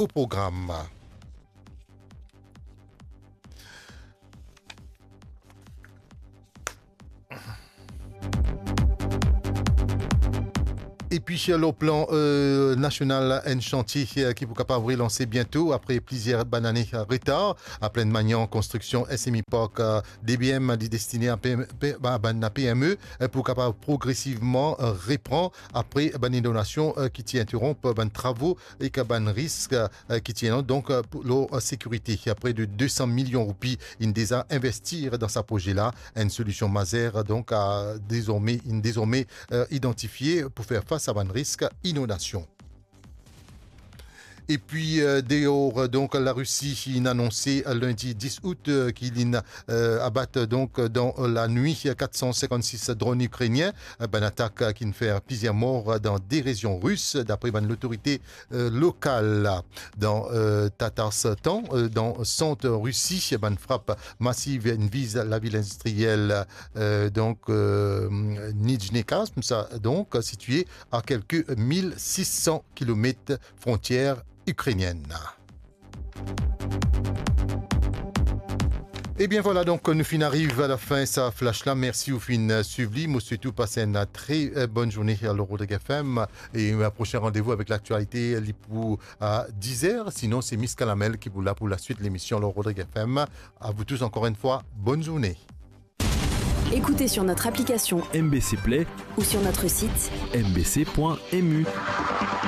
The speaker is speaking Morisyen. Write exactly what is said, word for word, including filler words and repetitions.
o program. Epi, lor plan, euh, nasional, enn santie, euh, ki pou kapav relanse biento apre plizier bann ane, euh, retar. Plaine Magnan, konstriksion S M E Park, euh, D B M, li destine a P M, P-, ba-, bann P M E, euh, pou kapav progresivman, euh, repran apre bann inondasion, euh, ki ti interonp bann travo ek bann risk, euh, ki ti ena, donk, euh, pou, lor, euh, sekirite. Pre de de san milion roupi inn deza investi dan sa proze la. Enn solision mazer, donk, a dezorme, inn dezorme, euh, idantifie pou fer fas a bann risk inondasion. Epi, euh, deor, euh, donk, Larisi inn anonse, euh, lindi dis out, euh, ki li inn, euh, abat, euh, donk, euh, dan, euh, lanwit, euh, kat san sinkant-sis dronn ikrenien, euh, bann atak, euh, ki'nn fer plizier mor, euh, dan de rezion ris, dapre bann lotorite, euh, lokal la. Dan, euh, Tatarstan, euh, dan sant Risi, bann frap masiv inn viz lavil indistriel, euh, donk, euh, Nijnekarsk, sa, donk, sitie a kelke mil sis san kilomet frontier ikrenienn. Ebien vwala, donk, nou finn ariv a lafin sa flash la. Mersi ou finn, euh, swiv li. Mo swet ou pas enn, euh, tre, euh, bonn zourne lor Rodrig F M. E, euh, prosin randevou avek laktialite, li pou a diz er. Sinon, se Miss Kalamel ki pou la pou laswit lemision lor Rodrig F M. A vous tous encore une fois, bonne journée. Écoutez sur notre application M B C Play ou sur notre site M B C point M U.